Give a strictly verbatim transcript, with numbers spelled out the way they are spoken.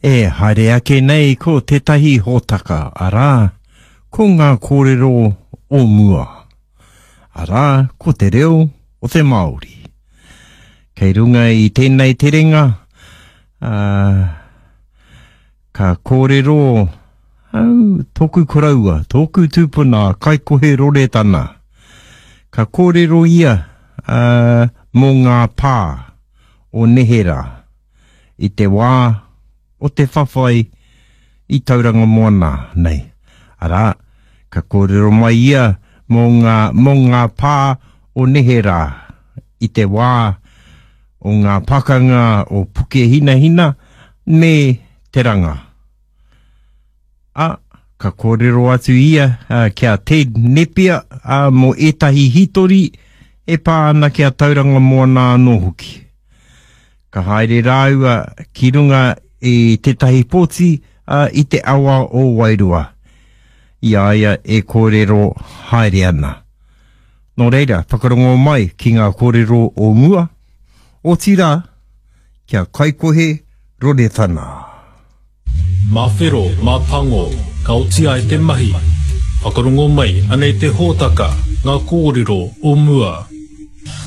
E haere ake nei ko tētahi hōtaka, arā, ko ngā kōrero o mua. Arā, ko te reo o te Māori. Kei runga i tēnei terenga, ā, ka kōrero au, tōku koroua, tōku tūpuna, Kaikohe Roretana. Ka kōrero ia ā, mō ngā pā o neherā i te wā o te whawhai i Tauranga Moana nei. Arā, ka kōrero mai ia mō ngā, mō ngā pā o neherā i te wā o ngā pakanga o Pukehinahina me Te Ranga. Ā, ka kōrero atu ia ki a Ted Nepia mō ētahi hītori e pā ana ki a Tauranga Moana anō hoki. Ka haere rāua ki runga i tētahi pōti i te awa o Wairoa, i a ia e kōrero haere ana. Nō reira, whakarongo mai ki ngā kōrero o mua, otirā, kia Kaikohe Roretana. Mā whero, mā pango, ka oti ai te mahi. Whakarongo mai, anei te hōtaka, ngā kōrero o mua.